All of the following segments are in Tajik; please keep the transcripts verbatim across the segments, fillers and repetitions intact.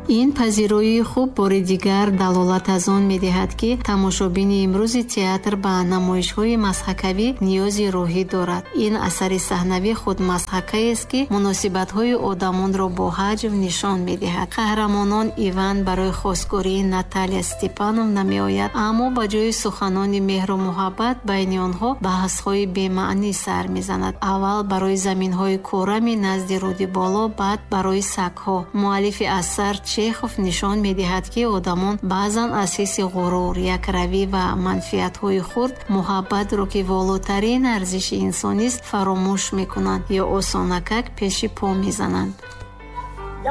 Ин пазироии хуб бори дигар далолат аз он медиҳад, ки тамошобини имрӯзи театр ба намоишҳои мазҳакавӣ ниёзи рӯҳӣ дорад. Ин асари саҳнавӣ худ мазҳакаест, ки муносибатҳои одамонро бо ҳаҷв нишон медиҳад. Қаҳрамонон Иван барои хостгории Наталия Степановна меояд, аммо ба ҷои суханони меҳру муҳаббат байни онҳо баҳсҳои бемаънӣ сар мезанад. Аввал барои заминҳои корами назди руди боло, баъд барои сагҳо. Муаллифи асар Чехов нишон медиҳад, ки одамон баъзан аз ҳисси ғурур, якравӣ ва манфиатҳои хурд муҳаббатро, ки волотарин арзиши инсонист, фаромӯш мекунанд ё осонакак пеши по мезананд.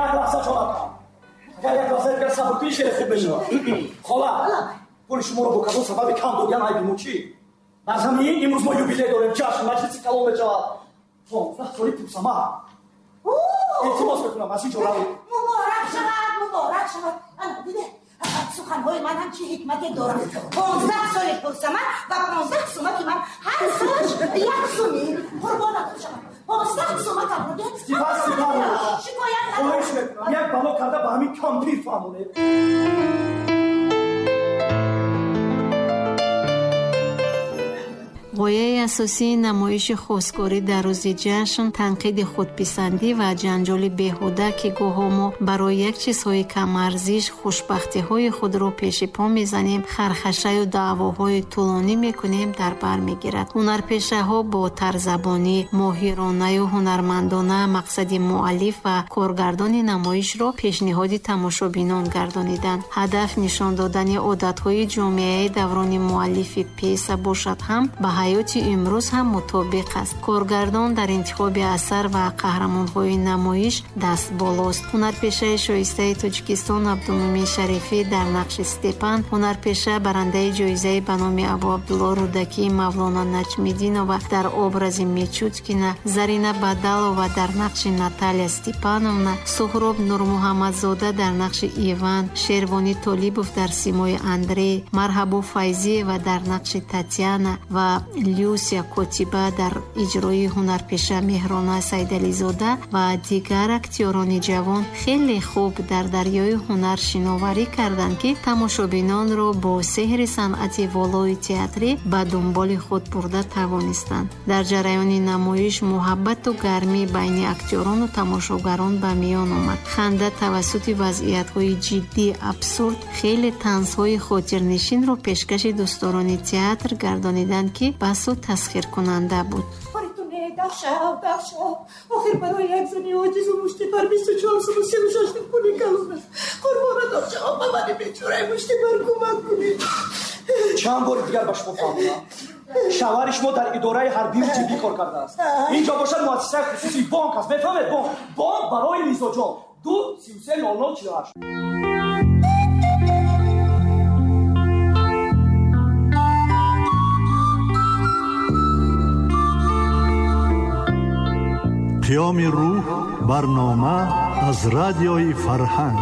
Як лаҳза ҷонакам, агар як лаҳза дигар сабр кунӣ, хеле хуб мешавад. Хола, пули шуморо бо кадом сабаби кам додиан айби мо чӣ? Аз ҳамин имрӯз мо юбилей дорем, ҷашн, маҷлиси калон мешавад. Понздаҳ соли пурсамар. Илтимос мекунам, аз ин ҷо равед. Муборак шавад, муборак шавад. Ана диде, суханҳои ман ҳам чӣ ҳикмате дорад. Понздаҳ соли пурсамар ва понздаҳ сумаки ман ҳар солаш як суми. Қурбонатон шавад. Понздаҳ сумакам буде. Сипас, сипас. Шикоят накун. Хоҳиш мекунам, як бало карда ба ҳамин кампир фаҳмонед. Ғояи асосии намоиши хостгорӣ дар рӯзи ҷашн танқиди худписандӣ ва ҷанҷоли беҳуда, ки гоҳо мо барои як чизҳои камарзиш хушбахтиҳои худро пеши по мезанем, хархашаю даъвоҳои тӯлонӣ мекунем, дар бар мегирад. Ҳунарпешаҳо бо тарзабонӣ, моҳиронаю ҳунармандона мақсади муаллиф ва коргардони намоишро пешниҳоди тамошобинон гардониданд. Ҳадаф нишон додани одатҳои ҷомеаи даврони муаллифи пьеса бошад ҳам ба ҳаёти имрӯз ҳам мутобиқ аст. Коргардон дар интихоби асар ва қаҳрамонҳои намоиш даст болост. Ҳунарпешаи шоистаи Тоҷикистон Абдумумин Шарифӣ дар нақши Степан, ҳунарпеша барандаи ҷоизаи ба номи Абу Абдулло Рӯдакӣ Мавлона Наҷмиддинова дар образи Мечуткина, Зарина Бадалова дар нақши Наталия Степановна, Суҳроб Нурмуҳаммадзода дар нақши Иван, Шервонӣ Толибов дар симои Андрей, Марҳабо Файзиева дар нақши Татьяна ва Люсия Котиба дар иҷрои ҳунарпеша Меҳрона Сайдализода ва дигар актёрони ҷавон хеле хуб дар дарёи ҳунар шиноварӣ карданд, ки тамошобинонро бо сеҳри санъати волои театрӣ ба дунболи худ бурда тавонистанд. Дар ҷараёни намоиш муҳаббату гармӣ байни актёрону тамошогарон ба миён омад. Ханда тавассути вазъиятҳои ҷиддӣ, абсурд хеле танзҳои хотирнишинро пешкаши дӯстдорони театр гардониданд, ки басу тасхиркунанда буд. Дахшав, дахшав. Охир барои як зани оҷизу муштипар бисту чор суму сию шаш пули калон аст. Қурбонатон шавам, ба мани бечораи муштипар кӯмак кунед. Чанд бори дигар ба шумо фаҳмонам, шавҳари шумо дар идораи ҳарбию тиббӣ кор кардааст. Инҷо бошад муассисаи хусусии бонк аст. Мефаҳмед? Бонк, бонк барои мизоҷон. Ду сию се нол нол чилу ҳашт. Қиёми рӯҳ барнома аз радиои Фарҳанг.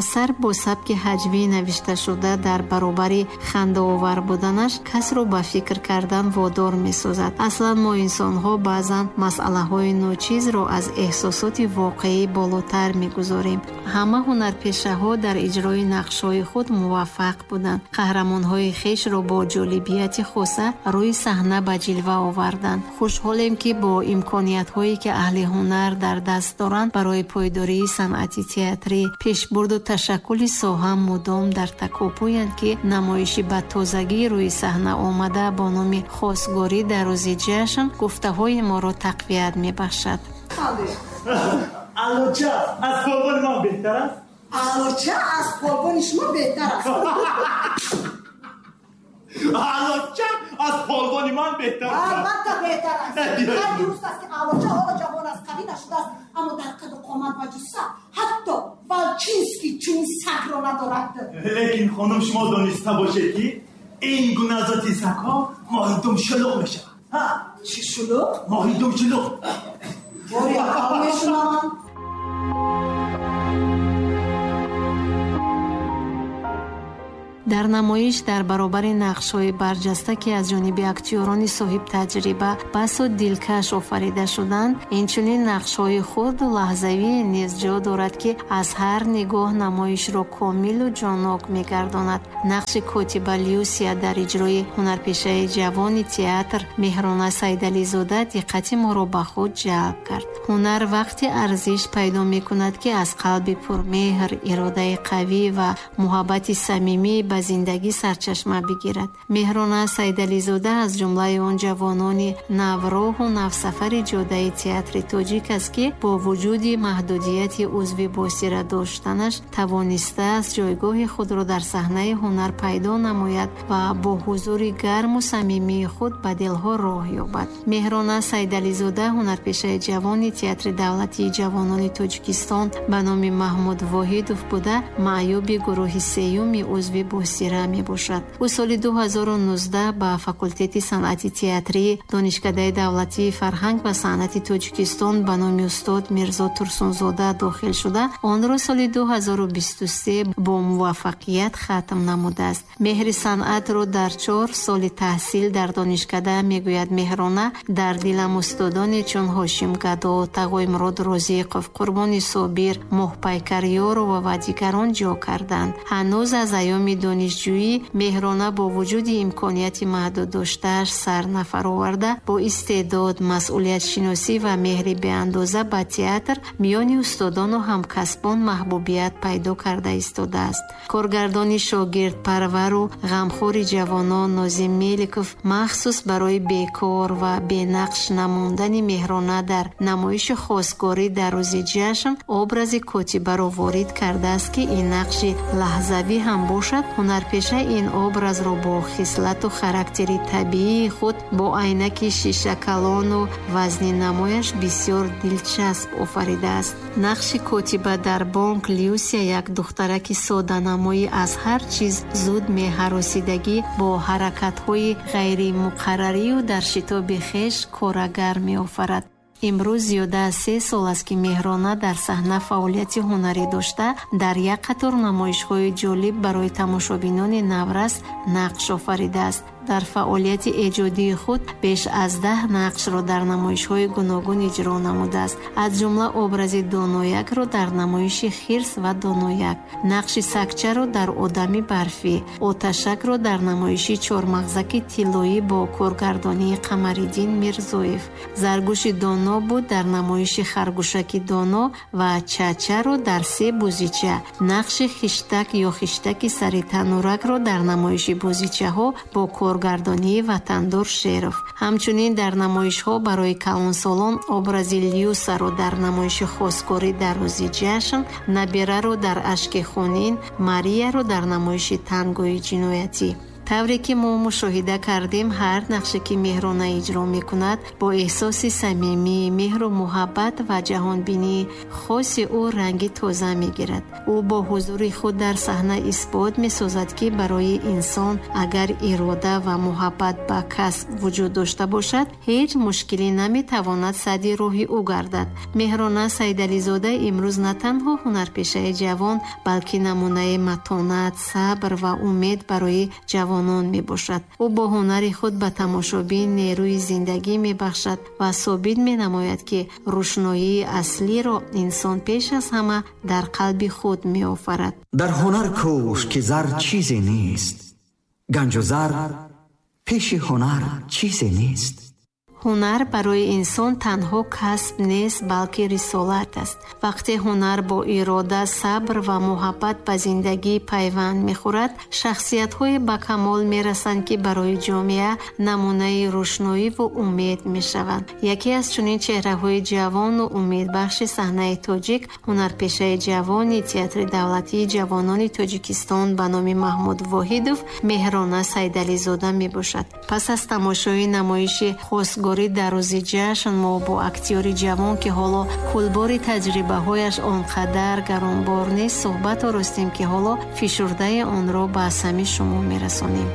Асар бо сабки ҳаҷвӣ навишташуда дар баробари хандаовар буданаш касро ба фикр кардан водор месозад. Аслан мо инсонҳо баъзан масъалаҳои ночизро аз эҳсосоти воқеӣ болотар мегузорем. Ҳама ҳунарпешаҳо дар иҷрои нақшҳои худ муваффақ буданд. Қаҳрамонҳои хешро бо ҷолибияти хоса рӯи саҳна ба ҷилва оварданд. Хушҳолем, ки бо имкониятҳое ки аҳли ҳунар дар даст доранд барои пойдории санъати театрӣ, пешбурду ташаккули соҳа мудом дар такопӯянд, ки намоиши ба тозагӣ рӯи саҳна омада бо номи хостгорӣ дар рӯзи ҷашн гуфтаҳои моро тақвият мебахшад. Алоча аз полвони ман беҳтар аст? Алоча аз полвони шумо беҳтар аст. Алоча аз полвони ман беҳтар аст. Албатта беҳтар аст. Ҳар дуруст аст, ки Алоча ҳоло ҷавон аст, қавӣ нашудааст, аммо дар қаду қомат ва ҷусса ҳатто Волчинский чунин сагро надорад. Лекин хонум, шумо дониста бошед, ки ин гуна зоти сагҳо моҳидум шулуғ мешавад. Чӣ шулуғ? Моҳидум шулуғ. Бори аввал мешунавам. Дар намоиш дар баробари нақшҳои барҷаста, ки аз ҷониби актёрони соҳибтаҷриба басу дилкаш офарида шуданд, инчунин нақшҳои хурду лаҳзавӣ низ ҷо дорад, ки аз ҳар нигоҳ намоишро комилу ҷоннок мегардонад. Нақши котиба Люсия дар иҷрои ҳунарпешаи ҷавони театр Меҳрона Сайдализода диққати моро ба худ ҷалб кард. Ҳунар вақте арзиш пайдо мекунад, ки аз қалби пурмеҳр, иродаи қавӣ ва муҳаббати самимӣ ба зиндагӣ сарчашма бигирад. Меҳрона Сайдализода аз ҷумлаи он ҷавонони навроҳу навсафари ҷодаи театри тоҷик аст, ки бо вуҷуди маҳдудияти узви босира доштанаш тавонистааст ҷойгоҳи худро дар саҳнаи ҳунар пайдо намояд ва бо ҳузури гарму самимии худ ба дилҳо роҳ ёбад. Меҳрона Сайдализода ҳунарпешаи ҷавони театри давлатии ҷавонони Тоҷикистон ба номи Маҳмуд Воҳидов буда, маъюби гурӯҳи сеюми узви босира мебошад. Ӯ соли ду ҳазору нуздаҳ ба факултети санъати театрии Донишкадаи давлатии фарҳанг ва санъати Тоҷикистон ба номи устод Мирзо Турсунзода дохил шуда, онро соли ду ҳазору бисту се бо муваффақият хатм намудааст. Меҳри санъатро дар чор соли таҳсил дар донишкада, мегӯяд Меҳрона, дар дилам устодоне чун Ҳошим Гадо, Тағоимурод Розиқов, Қурбони Собир, Моҳпайкар Ёрова ва дигарон ҷо карданд. Ҳанӯз аз айёми донишҷӯӣ Меҳрона бо вуҷуди имконияти маҳдуд доштааш сар нафароварда, бо истеъдод, масъулиятшиносӣ ва меҳри беандоза ба театр миёни устодону ҳамкасбон маҳбубият пайдо карда истодааст. Коргардони шогирдпарвару ғамхори ҷавонон Нозим Меликов махсус барои бекор ва бенақш намондани Меҳрона дар намоиши хосгорӣ дар рӯзи ҷашн образи котибаро ворид кардааст, ки ин нақши лаҳзавӣ ҳам бошад, ҳунарпеша ин образро бо хислату характери табиии худ бо айнаки шишакалону вазни намояш бисёр дилчасп офаридааст. Нақши котиба дар бонк Люсия як духтараки соданамоӣ аз ҳар чиз зуд меҳаросидагӣ бо ҳаракатҳои ғайримуқаррарию дар шитоби хеш корагар меофарад. Имрӯз зиёда аз се сол аст, ки Меҳрона дар саҳна фаъолияти ҳунарӣ дошта, дар як қатор намоишҳои ҷолиб барои тамошобинони наврас нақш офаридааст. Дар фаъолияти эҷодии худ беш аз даҳ нақшро дар намоишҳои гуногун иҷро намудааст, аз ҷумла образи доноякро дар намоиши хирс ва донояк, нақши сакчаро дар одами барфӣ, оташакро дар намоиши чормағзаки тиллоӣ бо коргардонии Қамариддин Мирзоев, заргӯши доно буд дар намоиши харгӯшаки доно ва чачаро дар се бозича, нақши хиштак ё хиштаки сари тануракро дар намоиши бозичаҳо бо кор коргардонии Ватандор Шеров. Ҳамчунин дар намоишҳо барои калонсолон образи Люсаро дар намоиши хосгорӣ дар рӯзи ҷашн, Набираро дар ашки хунин, Марияро дар намоиши тангои ҷиноятӣ. Тавре ки мо мушоҳида кардем, ҳар нақше ки Меҳрона иҷро мекунад, бо эҳсоси самимӣ, меҳру муҳаббат ва ҷаҳонбинии хоси ӯ ранги тоза мегирад. Ӯ бо ҳузури худ дар саҳна исбот месозад, ки барои инсон агар ирода ва муҳаббат ба касб вуҷуд дошта бошад, ҳеҷ мушкилӣ наметавонад садди роҳи ӯ гардад. Меҳрона Сайдализода имрӯз на танҳо ҳунарпешаи ҷавон, балки намунаи матонат, сабр ва умед барои ҷавон мебошад. Ӯ бо ҳунари худ ба тамошобин нерӯи зиндагӣ мебахшад ва собит менамояд, ки рӯшноии аслиро инсон пеш аз ҳама дар қалби худ меофарад. Дар ҳунар кӯш, ки зар чизе нест, ганҷу зар пеши ҳунар чизе нест. Ҳунар барои инсон танҳо касб нест, балки рисолат аст. Вақте ҳунар бо ирода, сабр ва муҳаббат ба зиндагӣ пайванд мехӯрад, шахсиятҳое ба камол мерасанд, ки барои ҷомеа намунаи рӯшноӣ ву умед мешаванд. Яке аз чунин чеҳраҳои ҷавону умедбахши саҳнаи тоҷик ҳунарпешаи ҷавони театри давлатии ҷавонони Тоҷикистон ба номи Маҳмуд Воҳидов Меҳрона Сайдализода мебошад. Пас аз тамошои намоиши хосгорӣ дар рӯзи ҷашн мо бо актёри ҷавон, ки ҳоло кулбори таҷрибаҳояш он қадар гаронбор нест, суҳбат оростем, ки ҳоло фишурдаи онро ба сами шумо мерасонем.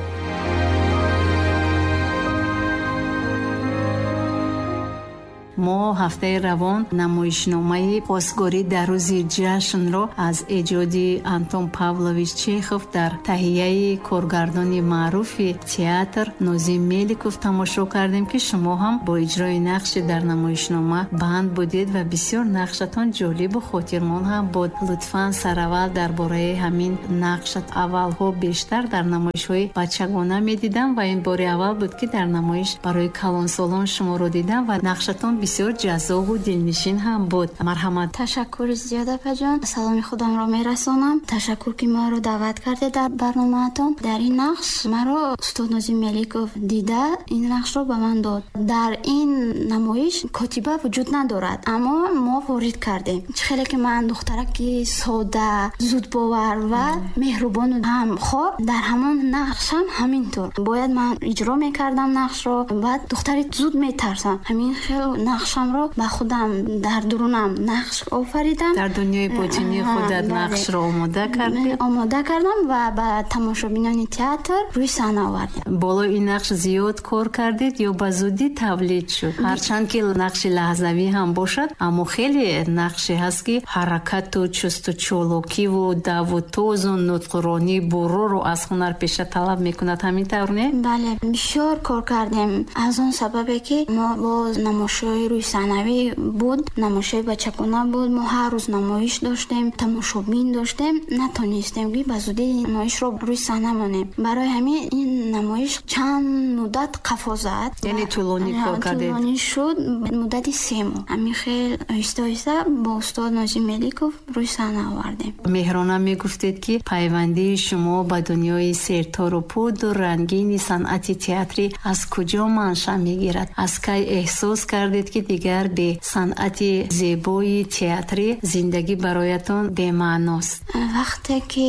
Мо ҳафтаи равон намоишномаи хостгорӣ дар рӯзи ҷашнро аз эҷоди Антон Павлович Чехов дар таҳияи коргардони маъруфи театр Нозим Меликов тамошо кардем, ки шумо ҳам бо иҷрои нақши дар намоишнома банд будед ва бисёр нақшатон ҷолибу хотирмон ҳам буд. Лутфан сараввал дар бораи ҳамин нақшат. Аввалҳо бештар дар намоишҳои бачагона медидам ва ин бори аввал буд, ки дар намоиш барои калонсолон шуморо дидам ва нақшатон бисёр ҷаззобу дилнишин ҳам буд. Марҳамат. Ташаккури зиёд, апаҷон. Саломи худамро мерасонам. Ташаккур, ки маро даъват кардед дар барномаатон. Дар ин нақш маро устод Нозим Меликов дида, ин нақшро ба ман дод. Дар ин намоиш котиба вуҷуд надорад, аммо мо ворид кардем. Чӣ хеле ки ман духтараки сода, зудбовар ва меҳрубону ҳамхор, дар ҳамон нақшам ҳамин тур бояд ман иҷро мекардам нақшро. Баъд духтари зуд метарсам. Ҳамин хел нақшамро ба худам дар дурунам нақш офаридам. Дар дунёи ботинии худат нақшро омода кардӣ? Омода кардам ва ба тамошобинони театр рӯи саҳна овардем. Болои ин нақш зиёд кор кардед ё ба зудӣ тавлид шуд? Ҳарчанд ки нақши лаҳзавӣ ҳам бошад, аммо хеле нақше ҳаст, ки ҳаракату чусту чолокиву даву тозу нутқронӣ буроро аз ҳунарпеша талаб мекунад. Ҳамин тавр не? Бале, бисёр кор кардем. Аз он сабабе ки мо боз намоишҳои рӯйсаҳнавӣ буд, намоишҳои бачагона буд, мо ҳар рӯз намоиш доштем, тамошобин доштем, натонистем ки ба зудӣ намоишро рӯи саҳна монем. Барои ҳамин ин намоиш чанд муддат қафо зад. Яъне тӯлонӣ кор кардед? Тӯлонӣ шуд, муддати се моҳ. Ҳамин хел оҳиста оҳиста бо устод Нозим Меликов рӯи саҳна овардем. Меҳрона, мегуфтед, ки пайвандии шумо ба дунёи сертору пуду рангини санъати театрӣ аз куҷо манша мегирад? Аз кай эҳсос кардед, ки дигар бе санъати зебои театрӣ зиндагӣ бароятон бемаъност? Вақте ки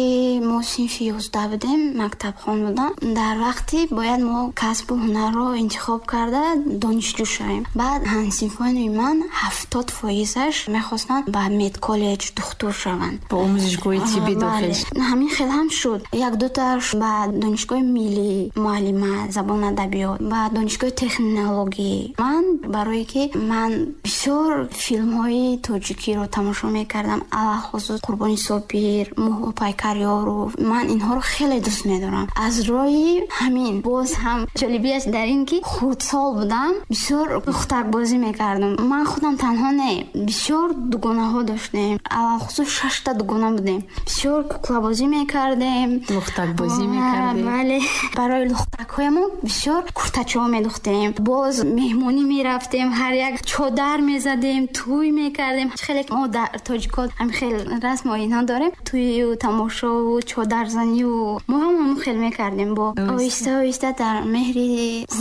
мо синфи ёздаҳ будем, мактабхон будам, дар вақти бояд мо касбу ҳунарро интихоб карда донишҷӯ шавем. Баъд ҳамсинфони ман ҳафтод фоизаш мехостанд ба медколлеҷ духтур шаванд, ба омӯзишгоҳи тиббӣ дохил. Ҳамин хел ҳам шуд. Як дуташ ба донишгоҳи миллӣ муаллима забон адабиёт, ба донишгоҳи технологӣ. Ман барое ки ман бисёр филмҳои тоҷикиро тамошо мекардам, алахусус Қурбони Собир, Муҳопайкар Ёров, ман инҳоро хеле дӯст медорам. Аз рӯи ҳамин боз ҳам ҷолибияш дар ин ки хурдсол будам, бисёр лухтакбозӣ мекардам. Ман худам танҳо не, бисёр дугонаҳо доштем, алахусус шашта дугона будем. Бисёр куклабозӣ мекардем, лухтакбозӣ мекардем. Бале, барои лухтакҳоямон бисёр куртачаҳо медухтем. Боз меҳмонӣ мерафтем, ҳар як чодар мезадем, тӯй мекардем. Хеле мо дар тоҷикот ҳамин хел расму оинҳо дорем, тӯю тамошову чодарзанию мо ҳам ҳамон хел мекардем. Бо оҳиста оҳиста дар меҳри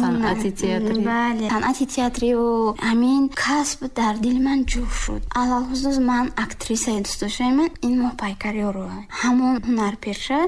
санъати театрӣ, бале, санъати театрию ҳамин касб дар дили ман ҷӯр шуд. Алалхусус ман актрисаи дӯстдоштаи ман ин Моҳпайкар Ёрова, ҳамон ҳунарпеша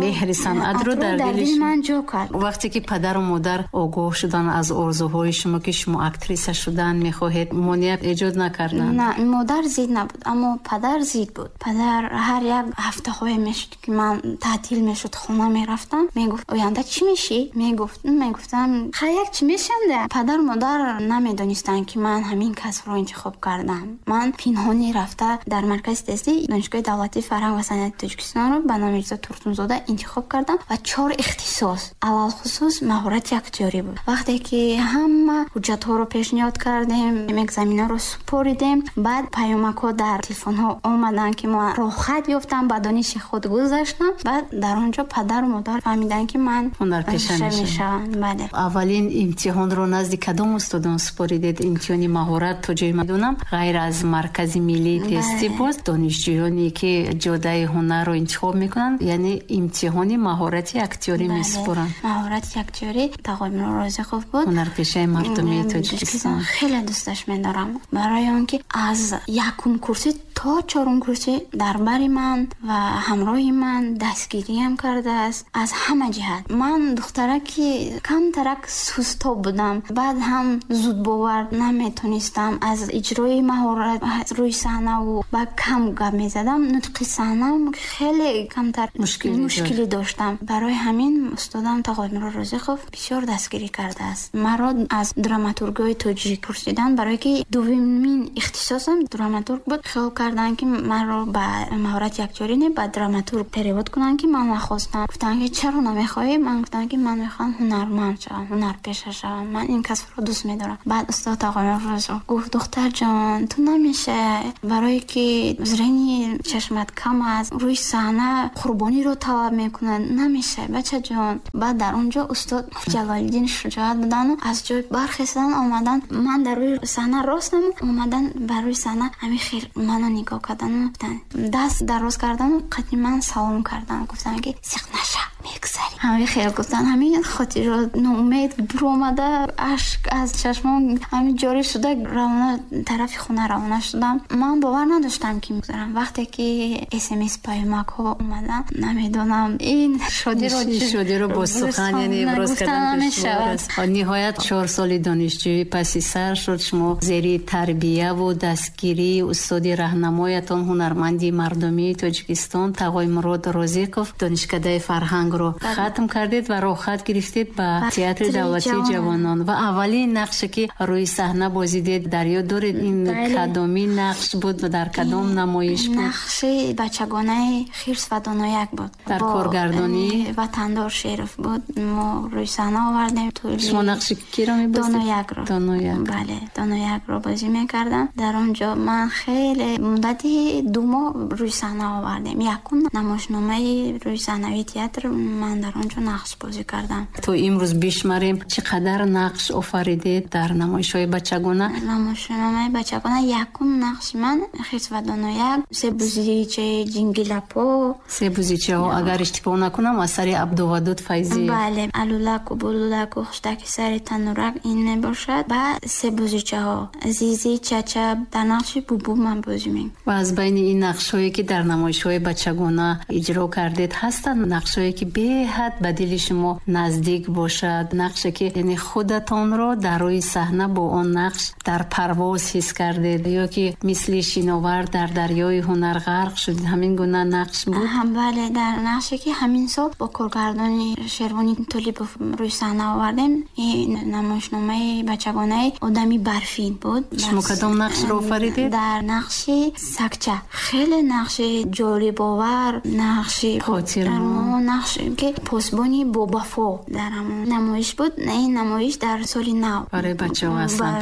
меҳри санъатро дар дили ман ҷо кард. Вақте ки падару модар огоҳ шуданд аз орзуҳои шумо, ки шумо актриса шудан мехоҳед, монеа эҷод накарданд? На, модар зид набуд, аммо падар зид буд. Падар ҳар як ҳафтаҳое мешуд ки ман таътил мешуд, хона мерафтам, мегуфт оянда чӣ мешӣ? Мегуфт, мегуфтам хай як чӣ мешам да. Падару модар намедонистанд, ки ман ҳамин касбро интихоб кардам. Ман пинҳонӣ рафта дар маркази тестӣ Донишгоҳи давлатии фарҳанг ва санъати Тоҷикистонро ба номи Мирзо Турсунзода интихоб кардам ва чор ихтисос, алалхусус маҳорати актёрӣ буд. Вақте ки ҳама ҳуҷҷатҳоро пешниҳод кардем, экзаменҳоро супоридем, баъд паёмакҳо дар телефонҳо омаданд, ки мо роҳхат ёфтам, ба дониши худ гузаштам. Баъд дар он ҷо падару модар фаҳмиданд, ки ман ҳунарпеша мешавам. Бале. Аввалин имтиҳонро назди кадом устодон супоридед? Имтиҳони маҳорат, то ҷое медонам, ғайр аз маркази миллии тестӣ боз донишҷӯёне ки ҷодаи ҳунарро интихоб мекунанд, яъне имтиҳони маҳорати актёрӣ месупоранд. Маҳорати актёрӣ Тағоимуро Розиқов буд, ҳунарпешаи мардумии Тоҷикистон. Хеле дӯсташ медорам, барои он ки аз якум курсӣ То чорум курси дар бари ман ва ҳамроҳи ман дастгириам кардааст аз ҳама ҷиҳат. Ман духтараки камтарак сустоб будам, баъд ҳам зудбовар наметонистам, аз иҷрои маҳорат рӯи саҳнаву ба кам гап мезадам. Нутқи саҳнам хеле камтар мушкилӣ доштам. Барои ҳамин устодам Тағоймурод Розиқов бисёр дастгирӣ кардааст. Маро аз драматургҳои тоҷик пурсиданд, барое ки дуввумин ихтисосам драматург буд. Хиёл карданд, ки маро ба маҳорати актёрӣ не, ба драматург перевод кунанд, ки ман нахостам. Гуфтанд, ки чаро намехоҳӣ? Ман гуфтам, ки ман мехоҳам ҳунарманд шавам, ҳунарпеша шавам, ман ин касбро дӯст медорам. Баъд устод Тағоймурод Розиқов гуфт: духтарҷон, ту намешавӣ, барое ки зрени чашмат кам аст, рӯи саҳна қурбониро талаб мекунад, намешавӣ бачаҷон. Баъд дар он ҷо устод Ҷалолиддин Шуҷоат будану аз ҷой бархестан омадан. Ман дар рӯи саҳна ростам, омадан бар рӯи саҳна ҳамин хел маро нигоҳ кардану гуфтанд, даст дароз кардану қадри ман салом кардан, гуфтанд, ки сиқ наша, мегузарӣ. Ҳамин хел гуфтанд. Ҳамин хотирро ноумед биромада, ашк аз чашмон ҳамин ҷорӣ шуда, равона тарафи хона равона шудам. Ман бовар надоштам, ки мегузарам. Вақте ки смс паёмакҳо омаданд, намедонам ин шодиро шодиро бо сухан яъне иброз кардан душвор аст. Ниҳоят чор соли донишҷӯӣ паси сар шуд. Шумо зери тарбияву дастгирии устоди раҳнамоятон, ҳунарманди мардумии Тоҷикистон Тағоймурод Розиқов, донишкадаи фарҳангро хатм кардед ва роҳхат гирифтед ба театри давлатии ҷавонон. Ва аввалин нақше, ки рӯи саҳна бозидед, дар ёд доред, ин кадоми нақш буд ва дар кадом намоиш буд? Нақши бачагонаи Хирс ва Донояк буд. Дар коргардонӣ Ватандор Шеров буд. Мо рӯи саҳна овардем. Шумо нақши киро мебозидед? Доноякро. Донояк. Бале, Доноякро бозӣ мекардам. Дар он ҷо ман хеле муддати ду моҳ рӯи саҳна овардем. Якум намоишномаи рӯи саҳнавии театр ман дар он ҷо нақш бозӣ кардам. То имрӯз бишмарем, чӣ қадар нақш офаридед дар намоишҳои бачагона? Намоишномаи бачагона якум нақши ман Хирс ва Донояк, се бузичаи Ҷингилапо. Се бузичаҳо, агар иштибоҳ накунам, асари Абдувадуд Файзиев. Бале, Алулаку, Булулаку, Хуштаки сари танурак ин мебошад. Ба се бузичаҳо Зизи, Чача дар нақши Бубу ман бозӣ мекунам. Ва аз байни ин нақшҳое, ки дар намоишҳои бачагона иҷро кардед, ҳастанд нақшҳое, ки беҳад ба дили шумо наздик бошад, нақше, ки яъне худатонро дар рӯи саҳна бо он нақш дар парвоз ҳис кардед, ё ки мисли шиновар дар дарёи ҳунар ғарқ шудед, ҳамин гуна нақш буд? Бале, дар нақше, ки ҳамин сол бо коргардони Шервони Толибов рӯи саҳна овардем, ин намоишномаи бачагонаи Одами барфин буд. Шумо кадом нақшро офаридед? Дар нақши сакча. Хеле нақши ҷолибовар, нақши хотирмон, нақше ки посбони бобафо дар ҳамон намоиш буд. Ин намоиш дар соли нав барои бачаҳо аслан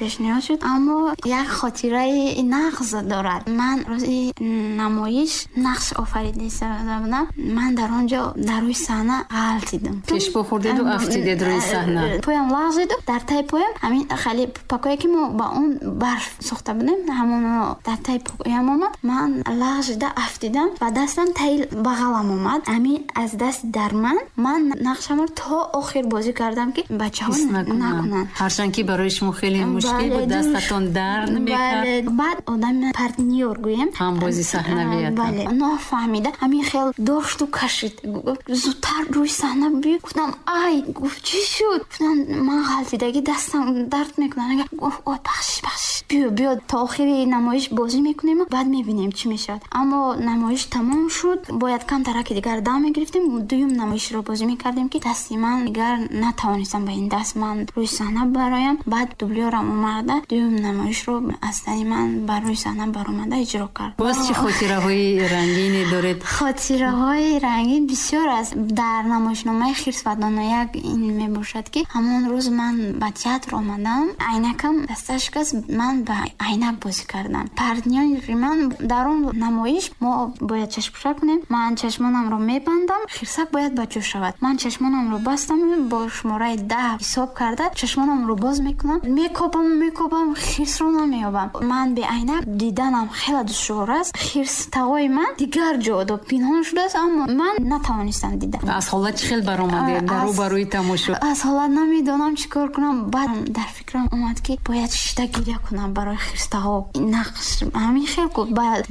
пешниҳод шуд, аммо як хотираи нағз дорад. Ман рӯзи намоиш нақш офарида будам. Ман дар он ҷо дар рӯи саҳна ғалтидам. Пешпо хӯрдеду афтидед рӯи саҳна. Поям лағзиду дар таи поям ҳамин хали пакое, ки мо ба он барф сохта будем, ҳамоно дар таи поям омад. Ман лағжида афтидам ва дастам таи бағалам омад. Ҳамин аз даст дар ман ман нақшамро то охир бозӣ кардам, ки бачаҳо накунанд. Ҳарчанд ки барои шумо хеле мушкил буд, дастатон дард мекард. Баъд одами партнёр гӯем, ҳамбози саҳнавиятон, бале, нофаҳмида ҳамин хел дошту кашид. Зудтар рӯи саҳна биё. Гуфтам: ай. Гуфт: чӣ шуд? Гуфтам: ман ғалтидагӣ, дастам дард мекунад. Гуфт: ой, бахшиш, бахшиш, биё, биё, то охири намоиш бозӣ мекунем, баъд мебинем чӣ мешавад. Аммо намоиш тамом шуд, бояд камтараки дигар дам мегирифтем, дуюм намоишро бозӣ мекардем, ки дасти ман дигар натавонистам ба ин даст ман рӯи саҳна бароям. Баъд дублёрам омада дуюм намоишро аз тани ман бар рӯи саҳна баромада иҷро кард. Боз чӣ хотираҳои рангине доред? Хотираҳои рангин бисёр аст. Дар намоишномаи Хирс ва Донояк ин мебошад, ки ҳамон рӯз ман ба театр омадам, айнакам дасташ шикаст, ман ба айнак бозӣ кардам. Партнёри ман дар он намоиш мо бояд чашмпӯша кунем. Ман чашмонамро мебандам, хирсак бояд ба ҷо шавад. Ман чашмонамро бастам, бо шумораи даҳ ҳисоб карда чашмонамро боз мекунам, мекобам, мекобам, хирсро намеёбам. Ман бе айнак диданам хеле душвор аст. Хирс тағои ман дигар ҷо до пинҳон шудааст, аммо ман натавонистам дида. Аз ҳолат чӣ хел баромадед дар рӯбарӯи тамошо? Аз ҳолат намедонам чӣ кор кунам. Баъд дар фикрам омад, ки бояд шишта гиря кунам. кунам барои хирстаҳо. Нақш ҳамин хел ку ба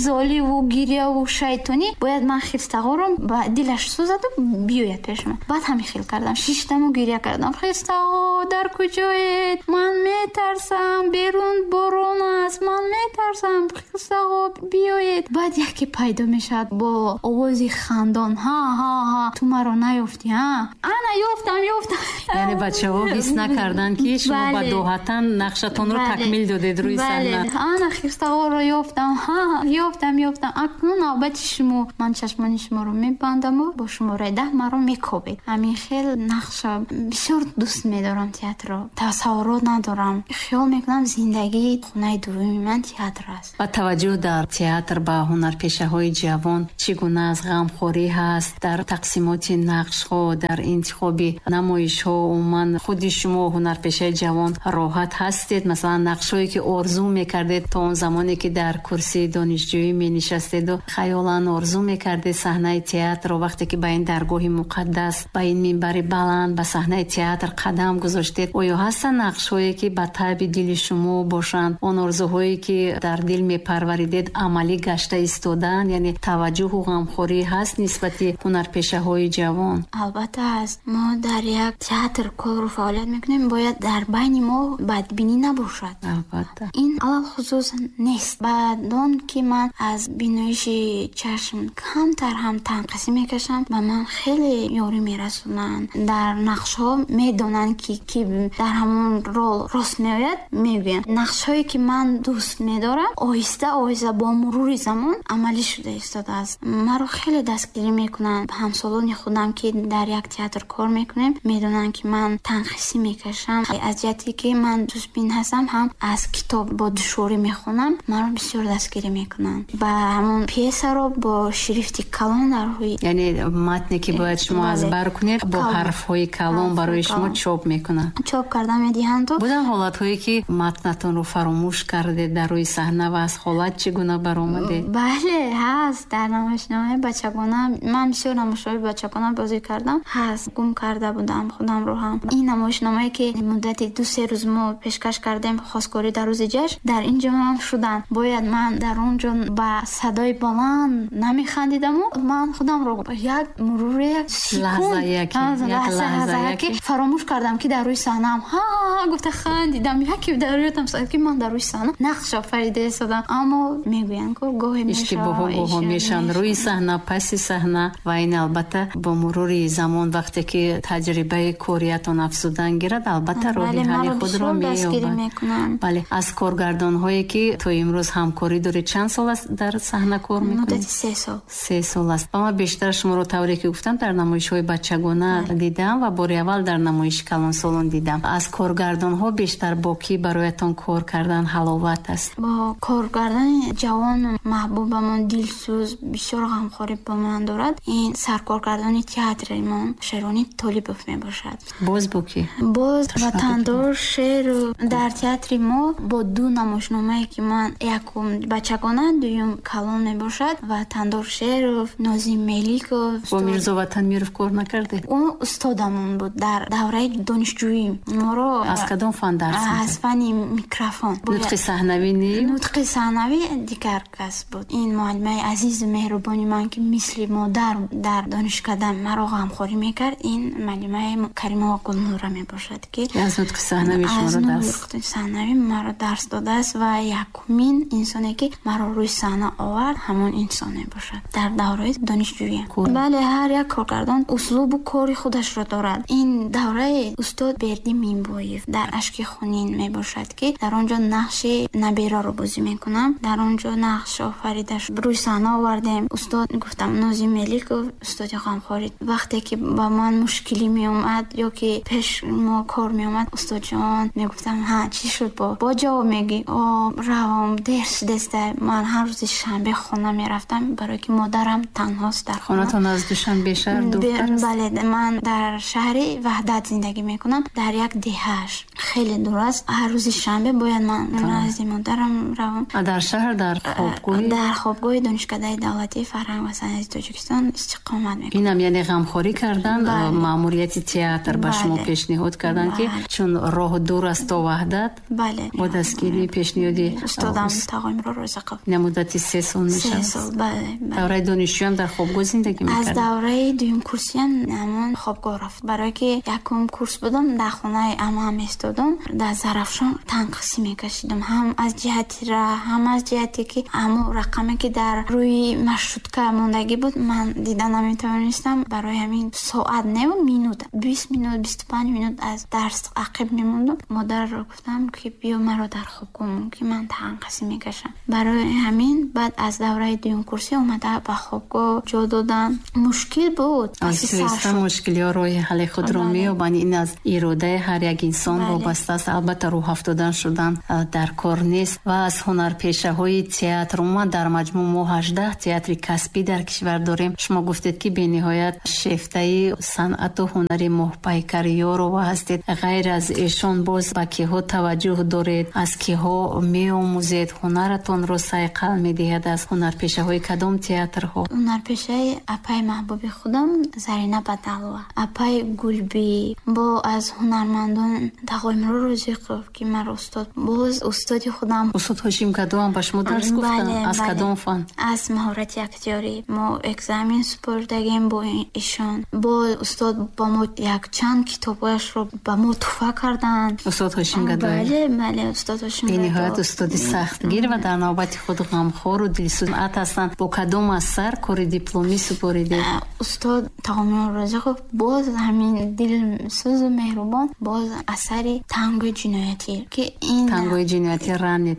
золиву гиряву шайтонӣ бояд ман хирстаҳоро ба дилаш сӯзаду биёяд пеши ман. Баъд ҳамин хел кардам, шиштаму гиря кардам. Хирстаҳо дар куҷоед? Ман метарсам, берун борон аст, ман метарсам, хирстаҳо биёед. Баъд яке пайдо мешавад бо овози хандон: ҳа ҳа ҳа, ту маро наёфтӣ, ҳа? Ана ёфтам, ёфтам. Яъне бачаҳо ҳис накарданд, ки шумо ба доҳатан нақшатонро такмил додед рӯи саҳна. Ана хирстаҳоро ёфтам, ҳа, ёфтам, ёфтам. Акнун навбати шумо, ман чашмони шуморо мебандаму бо шумораи даҳ маро мекобед. Ҳамин хел нақша бисёр дӯст медорам театрро. Тасаввурот надорам. Хиёл мекунам зиндагии хонаи дуввуми ман театр аст. Ва таваҷҷӯҳ дар театр ба ҳунарпешаҳои ҷавон чӣ гуна аст? Ғамхорӣ ҳаст дар тақсимоти нақшҳо, дар интихоби намоишҳо? Умуман худи шумо ҳунарпешаи ҷавон роҳат ҳастед? Масалан, нақшҳое ки орзу мекардед то он замоне ки дар курсии донишҷӯӣ менишастеду хаёлан орзу мекардед саҳнаи театрро, вақте ки ба ин даргоҳи муқаддас, ба ин минбари баланд, ба саҳнаи театр қадам гузоштед, оё ҳастанд нақшҳое ки ба таби дили шумо бошанд? Он орзуҳое ки дар дил мепарваридед амалӣ гашта истодаанд? Яъне таваҷҷӯҳу ғамхорӣ ҳаст нисбати ҳунарпешаҳои ҷавон? Албатта ҳаст. Мо дар як театр кору фаъолият мекунем, бояд дар байни мо бадбинӣ набошад. Албатта. Ин алалхусус нест. Баъд он ки ман аз биноиши чашм камтар ҳам танқисӣ мекашам, ба ман хеле ёрӣ мерасонанд. Дар нақшҳо медонанд ки ки дар ҳамон рол рост меояд, мегӯянд. Нақшҳое ки ман дӯст медорам, оҳиста оҳиста бо мурури замон амалӣ шуда истодааст. Маро хеле дастгирӣ мекунанд. Ҳамсолони худам ки дар як театр кор мекунем, медонанд ки ман танқисӣ мекашам. Аз ҷиҳате ки ман дӯстбин ҳастам, ҳам аз китоб бо душворӣ мехонам, маро бисёр дастгирӣ мекунанд. Ба ҳамон пьесаро бо шрифти калон дар рӯи, яъне матне ки бояд шумо аз бар кунед, бо ҳарфҳои калон барои шумо чоп мекунанд, чоп карда медиҳанд. Буданд ҳолатҳое ки матнатонро фаромӯш кардед дар рӯи саҳна ва аз ҳолат чӣ гуна баромадед? Бале, ҳаст. Дар намоишномаи бачагона, ман бисёр намоишҳои бачагона бозӣ кардам, ҳаст. Гум карда будам худамро ҳам. Ин намоишномае ки муддати ду се рӯз мо пешкаш кардем, хосгорӣ дар рӯзи ҷашн, дар ин ҷо ҳам шуданд. Бояд ман дар он ҷо ба садои баланд намехандидаму ман худамро як мурури як лаҳза ки фаромӯш кардам ки дар рӯи саҳнаам ҳа гуфта хандидам. Яке дар рӯятам сад ки ман дар рӯи саҳна нақш офарида истодам. Аммо мегӯянд ки гоҳе иштибоҳҳо гоҳо мешаванд рӯи саҳна, паси саҳна, ва ин албатта бо мурури замон вақте ки таҷрибаи кориятон афзудан гирад, албатта роҳи ҳалли худро меёбад. Бале, аз коргардонҳое ки то имрӯз ҳамкорӣ доред, чанд сол аст дар саҳна кор мекунед? Муддати се сол. Се сол аст. Ва ман бештар шуморо тавре ки гуфтам дар намоишҳои бачагона дидам ва бори аввал дар намоиши калонсолон дидам. Аз коргардонҳо бештар бо кӣ бароятон кор кардан ҳаловат аст? Бо коргардони ҷавон маҳбубамон, дилсӯз, бисёр ғамхорӣ ба ман дорад, ин саркоргардони театримон Шерони Толибов мебошад. Боз бо кӣ? Боз Ватандор Шеру. Дар театри мо бо ду намоишномае ки ман якум бачагона, дуюм калон мебошад, Ватандор Шеров, Нозим Меликов. Бо Мирзо Ватанмиров кор накардед? Ӯ устодамон буд дар давраи донишҷӯӣ. Моро аз кадом фан дарс медод? Аз фани микрофон. Нутқи саҳнавӣ не? Нутқи саҳнавӣ дигар кас буд. Ин муаллимаи азизу меҳрубони ман ки мисли модар дар донишкада маро ғамхорӣ мекард, ин муаллимаи Каримова Гулнура мебошад ки аз нутқи саҳнавӣ шуморо дарс аз нутқи саҳнавӣ маро дарс додааст ва якумин инсоне ки маро рӯи саҳна овард ҳамон инсон мебошад дар давраи донишҷӯӣ. Бале, ҳар як коргардон услубу кори худашро дорад. Ин давраи устод Бердӣ Минбоев дар Ашки хунин мебошад ки дар он ҷо нақши набераро бозӣ мекунам. Дар он ҷо нақш офарида рӯи саҳна овардем. Устод гуфтам Нозим Меликов, устоди ғамхорӣ, вақте ки ба ман мушкилӣ меомад ё ки пеш мо кор меомад, устодҷон мегуфтам ҳа чӣ шуд, бо бо ҷавоб мегӣ, о равом дер шудеста. Ман ҳар рӯзи шанбе хона мерафтам барое ки модарам танҳост дар хона. Хонатон аз Душанбе шаҳр дуртар аст? Бале, ман дар шаҳри Ваҳдат зиндагӣ мекунам, дар як деҳааш хеле дур аст. Ҳар рӯзи шанбе бояд ман назди модарам равам. А дар шаҳр дар хобгоҳ? Дар хобгоҳи Донишкадаи давлатии фарҳанг ва санъати Тоҷикистон истиқомат мекунам. Инам яъне ғамхорӣ кардан, маъмурияти театр ба шумо пешниҳод кардан ки чун роҳ дур аст то Ваҳдат. Бале, Бале. Бо дастгирии пешниҳоди устодам Тағоимурод Розиқов. Ин муддати се сол мешавад? Се сол, бале. Давраи донишҷӯям дар хобгоҳ зиндагӣ мекардед? Аз давраи дуюм курсиям ҳамон хобгоҳ рафт. Барое ки якум курс будам, дар хонаи амаам истодам, дар Зарафшон танқисӣ мекашидам. Ҳам аз ҷиҳати раҳ, ҳам аз ҷиҳате ки ҳамон рақаме ки дар рӯи маршрутка мондагӣ буд, ман дида наметавонистам. Барои ҳамин соат не, минут, бист минут, бисту панҷ минут аз дарс ақиб мемондам. Модарро гуфтам ки биё маро дар хобгоҳ мон, ки ман танқисӣ мекашам. Барои ҳамин баъд аз давраи дуюм курсӣ омада ба хобгоҳ ҷо додан. Мушкил буд. Аз туиста мушкилиҳо роҳи ҳалли худро меёбанд. Ин аз иродаи ҳар як инсон вобаста аст. Албатта, рӯҳафтодан шудан дар кор нест. Ва аз ҳунарпешаҳои театр, умуман дар маҷмӯъ мо ҳаждаҳ театри касбӣ дар кишвар дорем. Шумо гуфтед ки бениҳоят шефтаи санъату ҳунари Моҳпайкар Ёрова ҳастед. Ғайр аз эшон боз ба киҳо таваҷҷӯҳ доред, аз киҳо меомӯзед, ҳунаратонро сайқал медиҳад? Аз ҳунарпешаҳои кадом театрҳо? Ҳунарпешаи апаи маҳбуби худам Зарина Бадалова, апаи Гулбӣ, бо аз ҳунармандон Тағоимурод Розиқов ки маро устод, боз устоди худам устод Ҳошим Гадоам ба шумо дарс гуфтанд? Аз кадом фан? Аз маҳорати актёрӣ. Мо экзамен супордагем бо ишон. Бо устод ба мо якчанд китобҳояшро ба мо туҳфа карданд. Устод Ҳошим Гадоев? Бале, бале, устод Ҳошим Гадоев. Бениҳоят устоди сахтгир ва дар навбати худ ғамхору дилсӯз ҳастанд. Бо кадом асар кори дипломӣ супоридед? Устод Тағоимурод Розиқов боз ҳамин дилсӯзу меҳрубон, боз асари Тангои ҷиноятӣ ки ин Тангои ҷиноятӣ Ранет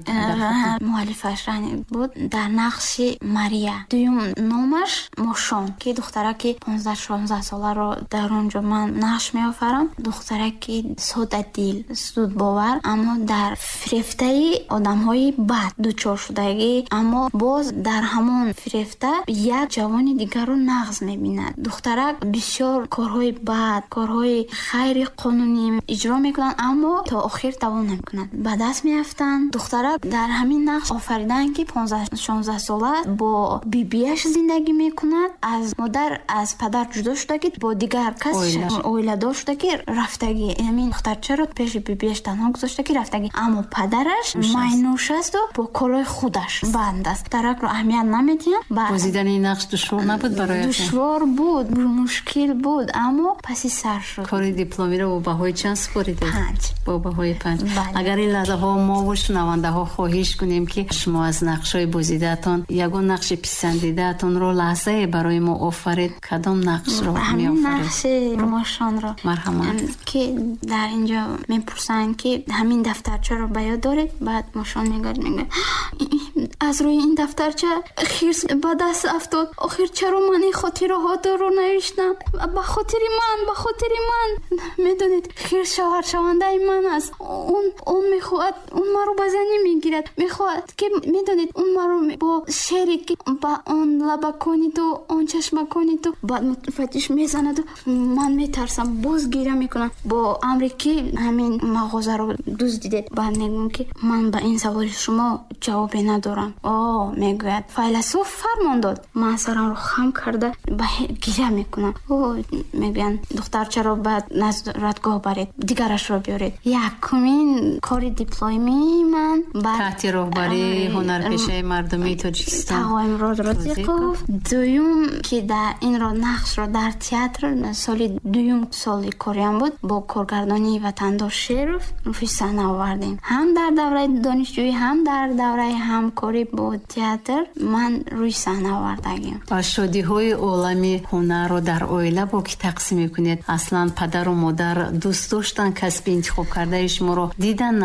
муаллифаш Ранет буд, дар нақши Мария. Дуюм номаш Мошон, ки духтараки понздаҳ шонздаҳ соларо дар он ҷо ман нақш меофарам. Духтараки содадил, зудбовар, аммо дар фирефтаи одамҳои бад дучор шудагӣ, аммо боз дар ҳамон фирефта як ҷавони дигарро нағз мебинад. Духтарак бисёр корҳои бад, корҳои хайри қонунӣ иҷро мекунанд, аммо то охир давом намекунанд, ба даст меафтанд. Духтарак дар ҳамин нақш офариданд ки понздаҳ шонздаҳ сола бо бибиаш зиндагӣ мекунад, аз модар, аз падар ҷудо шудагӣ, бо дигар кас оиладор шудагӣ, рафтагӣ. Ҳамин духтарчаро пеши бибиаш танҳо гузоштагӣ, рафтагӣ, аммо падараш майнӯш асту бо корҳои худаш банд аст. Духтаракро аҳамият намедиҳанд. Бозидани ин нақш душвор набуд бароятон? Душвор буд, мушкил буд, аммо паси сар шуд. Кори дипломиро бо баҳои чанд супоридед? Панҷ. Бо баҳои панҷ. Агар ин лаҳзаҳо мо ва шунавандаҳо хоҳиш кунем ки шумо аз нақшҳои бозидаатон ягон нақши писандидаатонро лаҳзае барои мо офаред, кадом нақшро меофаред? Нақши Мошонро. Марҳамат. Ки дар инҷо мепурсанд ки ҳамин дафтарчаро ба ёд доред? Баъд Мошон мегӯяд, мегӯяд аз рӯи ин дафтарча хирс ба даст афтод. Охир чаро ман ин хотираҳоро навиштам? Ба хотири ман, ба хотири ман. Медонед, хирс шавҳаршавандаи ман аст. Он, он мехоҳад, он маро ба занӣ мегирад. Мехоҳад ки, медонед, он маро бо шере ки ба он лабакони ту, он чашмакони ту, баъд муфаттиш мезанаду ман метарсам, боз гиря мекунам. Бо амре ки ҳамин мағозаро дуздидед. Баъд мегӯям ки ман ба ин саволи шумо ҷавобе надорам. О, мегӯяд, файласуф фармон дод. Ман сарамро хам карда ба гиря мекунам. О, мегӯянд, духтарчаро ба назоратгоҳ баред, дигарашро биёред. Якумин кори дипломии ман таҳти роҳбарии ҳунарпешаи мардумии Тоҷикистон Тағоимурод Розиқов. Дуюм ки дар инро нақшро дар театр соли дуюм соли кориам буд, бо коргардонии Ватандор Шеров рӯи саҳна овардем. Ҳам дар давраи донишҷӯӣ, ҳам дар давраи ҳамкорӣ бо театр ман рӯи саҳна овардагим. Ва шодиҳои олами ҳунарро дар оила бо ки тақсим мекунед? Аслан падару модар дӯст доштан касби интихоб кардаи шуморо? Дидан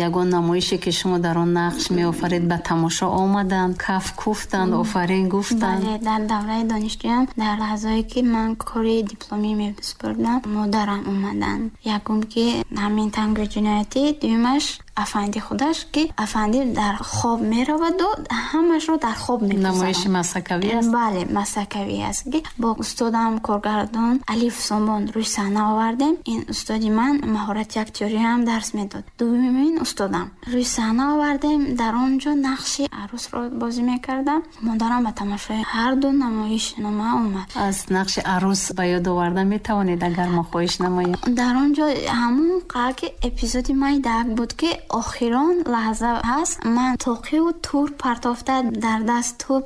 ягон намоише ки шумо дар он нақш меофаред, ба тамошо омаданд, каф куфтанд, офарин гуфтанд? Бале, дар давраи донишҷӯям, дар лаҳзае ки ман кори дипломӣ месупурдам, модарам омаданд. Якум ки ҳамин тангои ҷиноятӣ, дуюмаш афанди худаш ки афанди дар хоб мераваду ҳамашро дар хоб мегузарад. Намоиши масакавӣ аст? Бале, масакавӣ аст ки бо устодам коргардон Алиф Сомон рӯи саҳна овардем. Ин устоди ман маҳорати актёрӣ ҳам дарс медод. Дуюмин устодам рӯи саҳна овардем. Дар он ҷо нақши арӯсро бозӣ мекардам. Модарам ба тамошои ҳар ду намоишнома омад. Аз нақши арӯс ба ёд оварда метавонед агар мо хоҳиш намоем? Дар он ҷо ҳамон қадр ки эпизоди майдак буд ки охирон лаҳза ҳаст, ман тоқиву тур партофта дар даст тур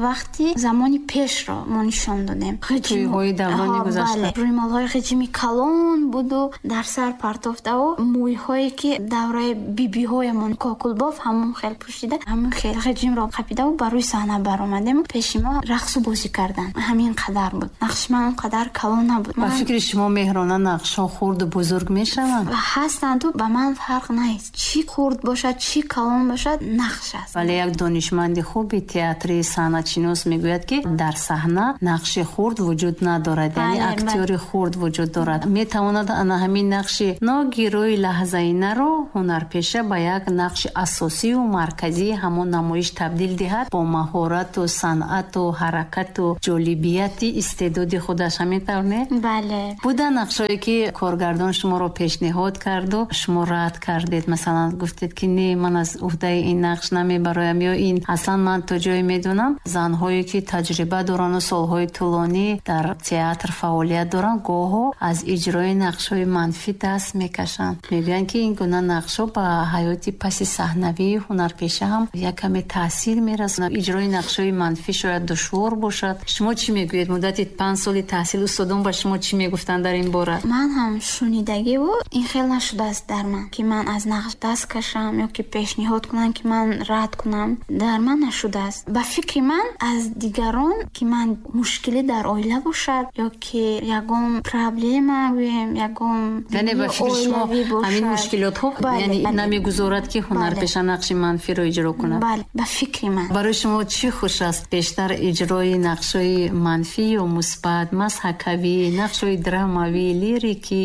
вақти замони пешро мо нишон додем. Тӯйҳои даврони гузашта. Рӯймолҳои ғиҷими калон буду дар сар партофтаву мӯйҳое ки давраи бибиҳоямон кокулбоф ҳамон хел пӯшида, ҳамон хел ғиҷимро қапидаву ба рӯи саҳна баромадем. Пеши мо рақсу бозӣ карданд. Ҳамин қадар буд. Нақши ман он қадар калон набуд. Ба фикри шумо Меҳрона нақшҳо хурду бузург мешаванд? Ҳастанд, ба ман фарқ нест. Чӣ хурд бошад, чӣ калон бошад, нақш аст. Вале як донишманди хуби театри санъатшинос мегӯяд, ки дар саҳна нақши хурд вуҷуд надорад, яъне актёри хурд вуҷуд дорад. Метавонад ана ҳамин нақши ногирӯи лаҳзаинаро ҳунарпеша ба як нақши асосию марказии ҳамон намоиш табдил диҳад бо маҳорату санъату ҳаракату ҷолибияти истеъдоди худаш. Ҳамин тавр не? Бале. Буда нақшҳое ки коргардон шуморо пешниҳод карду шумо рад кардед, масалан гуфтед ки не, ман аз уҳдаи ин нақш намебароям, ё ин аслан ман то ҷое медонам занҳое ки таҷриба дорану солҳои тӯлонӣ дар театр фаъолият доранд, гоҳо аз иҷрои нақшҳои манфӣ даст мекашанд. Мегӯянд ки ин гуна нақшҳо ба ҳаёти паси саҳнавии ҳунарпеша ҳам як каме таъсир мерасонад. Иҷрои нақшҳои манфӣ шояд душвор бошад. Шумо чӣ мегӯед? Муддати панҷ соли таҳсил устодон ба шумо чӣ мегуфтанд дар ин бора? Ман ҳам шунидагиву ин хел нашудааст дар ман, ки ман аз нақш даст кашам ё ки пешниҳод кунам ки ман рад кунам. Дар ман нашудааст. Ба фикри ман аз дигарон ки ман мушкилӣ дар оила бошад ё ки ягон проблема гӯем, ягон яъне ба фикри шумо ҳамин мушкилотҳо яъне намегузорад ки ҳунарпеша нақши манфиро иҷро кунад? Бале, ба фикри ман. Барои шумо чӣ хуш аст бештар, иҷрои нақшҳои манфӣ ё мусбат, мазҳакавӣ, нақшҳои драмавӣ, лирикӣ?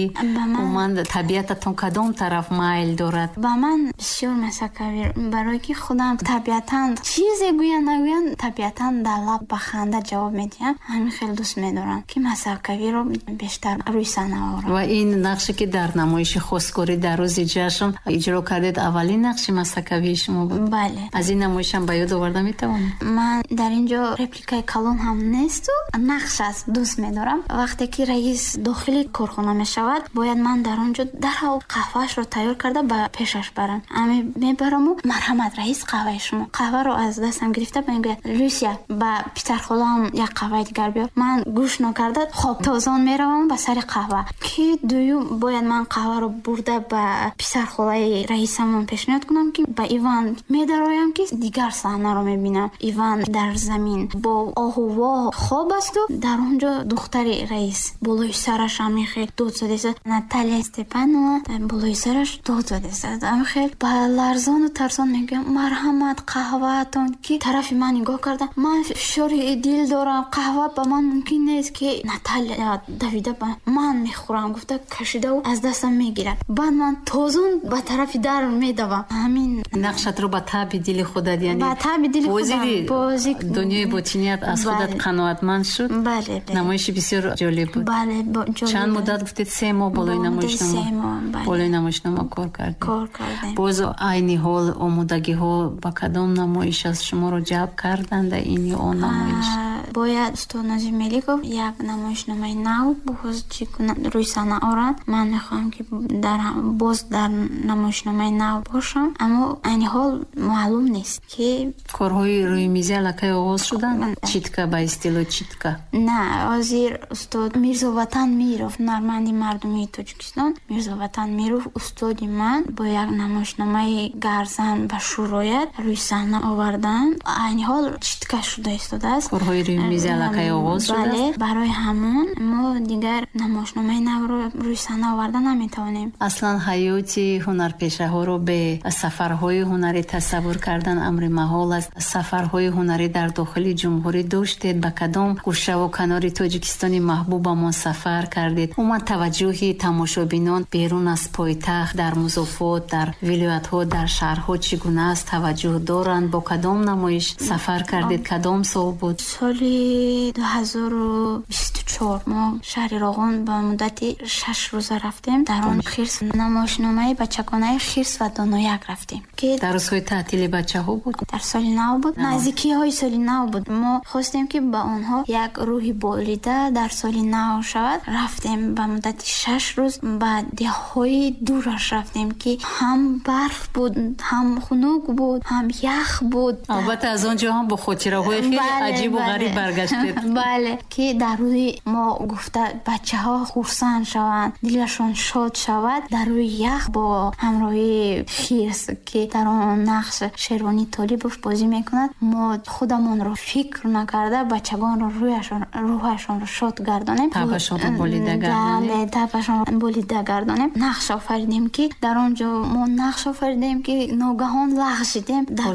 Умуман табиататон кадом тараф майл дорад? Ба ман бисёр мазҳакавӣ, барое ки худам табиатан чизе гӯянд нагӯянд, табиатан дар лаб ба ханда ҷавоб медиҳам. Ҳамин хел дӯст медорам ки мазҳакавиро бештар рӯи саҳна орам. Ва ин нақше ки дар намоиши хостгорӣ дар рӯзи ҷашн иҷро кардед, аввалин нақши мазҳакавии шумо буд? Бале. Аз ин намоишам ба ёд оварда метавонед? Ман дар ин ҷо репликаи калон ҳам несту нақш аст, дӯст медорам. Вақте ки раис дохили корхона мешавад, бояд ман дар он ҷо дарҳол қаҳваашро тайёр карда ба пешаш барам. Ами мебараму марҳамат раис, қаҳваи шумо. Қаҳваро аз дастам гирифта мегӯяд Люсия, ба писархолаам як қаҳваи дигар биёр. Ман гӯш нокарда хоб тозон меравам ба сари қаҳва, ки дуюм бояд ман қаҳваро бурда ба писархолаи раисамон пешниҳод кунам, ки ба Иван медароям, ки дигар саҳнаро мебинам. Иван дар замин бо оҳу воҳ хоб асту дар он ҷо духтари раис болои сараш ҳамин хел дод задааст. Наталия Степанова болои сараш дод задааст. Ҳамин хел ба ларзону тарсон мегӯям марҳамат қаҳваатон, ки тарафи ман нигоҳ карда, ман фишори дил дорам, қаҳва ба ман мумкин нест, ки Наталия давида ба ман мехӯрам гуфта кашидаву аз дастам мегирад. Баъд ман тозон ба тарафи дар медавам. Ҳамин нақшатро ба таби дили худат, яъне ба таби дили худам бозӣ дунёи ботиният аз худат қаноатманд шуд. Бале. Намоиши бисёр ҷолиб буд. Бале, ҷолиб. Чанд муддат гуфтед? Се моҳ болои намоишнома болои намоишнома кор кардем. Кор кардем. Боз айни ҳол омодагиҳо ба кадом намоиш аст? Шуморо ҷалб карданд ин ё он намоиш? Бояд устод Назим Меликов як намоишномаи нав боз чӣ кунад рӯи саҳна орад. Ман мехоҳам ки дар боз дар намоишномаи нав бошам, аммо айни ҳол маълум нест ки корҳои рӯи мизи аллакай оғоз шуданд? Читка ба истилоҳ читка? На, ҳозир устод Мирзоватан Миров, ҳунарманди мардумии Тоҷикистон, Мирзоватан Миров устоди ман бо як намоишномаи гарзан ба шӯроят рӯи саҳна овардан. Айни ҳол читка шуда истодааст. Корҳои рӯи мизи аллакай оғоз шудааст? Бале, барои ҳамон мо дигар намоишномаи навро рӯи саҳна оварда наметавонем. Аслан ҳаёти ҳунарпешаҳоро бе сафарҳои ҳунарӣ тасаввур кардан амри маҳол аст. Сафарҳои ҳунарӣ дар дохили ҷумҳурӣ доштед? Ба кадом гӯшаву канори Тоҷикистони маҳбубамон сафар кардед? Умуман таваҷҷӯҳи тамошобинон берун аз пойтахт, дар музофот, дар вилоятҳо, дар шаҳрҳо чӣ гуна аст? Таваҷҷӯҳ доранд? Бо кадом намоиш сафар кардед? Кадом сол буд? Соли Соли ду ҳазору бисту чор мо шаҳри Роғун ба муддати шаш рӯза рафтем. Дар он хирс намоишномаи бачагонаи хирс ва донояк рафтем, ки дар рӯзҳои таътили бачаҳо буд, дар соли нав буд, наздикиҳои соли нав буд. Мо хостем, ки ба онҳо як рӯҳи болида дар соли нав шавад. Рафтем ба муддати шаш рӯз ба деҳҳои дураш рафтем, ки ҳам барф буд, ҳам хунук буд, ҳам ях буд. Албатта аз он ҷо ҳам бо хотираҳои хеле аҷибу ғариб баргаштед. Бале, ки дар рӯи мо гуфта бачаҳо хурсанд шаванд, дилашон шод шавад, дар рӯи ях бо ҳамроҳии хирс, ки дар он нақш Шервонӣ Толибов бозӣ мекунад, мо худамонро фикр накарда бачагонро рӯҳашонро шод гардонем, табашонро болида гардонем. Бале, табашонро болида гардонем. Нақш офаридем, ки дар он ҷо мо нақш офаридем, ки ногаҳон лағжидем дар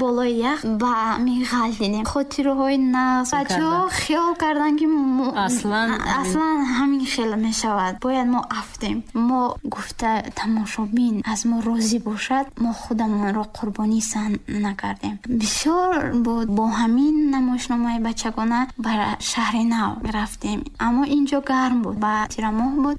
болои ях ба меғалтидем. Хотираҳои нағз. Бачаҳо хиёл карданд, ки аслан аслан ҳамин хел мешавад, бояд мо афтем. Мо гуфта тамошобин аз мо розӣ бошад, мо худамонро қурбонӣ саҳн накардем. Бисёр буд. Бо ҳамин намоишномаи бачагона ба шаҳри нав рафтем, аммо инҷо гарм буд, ба тирамоҳ буд.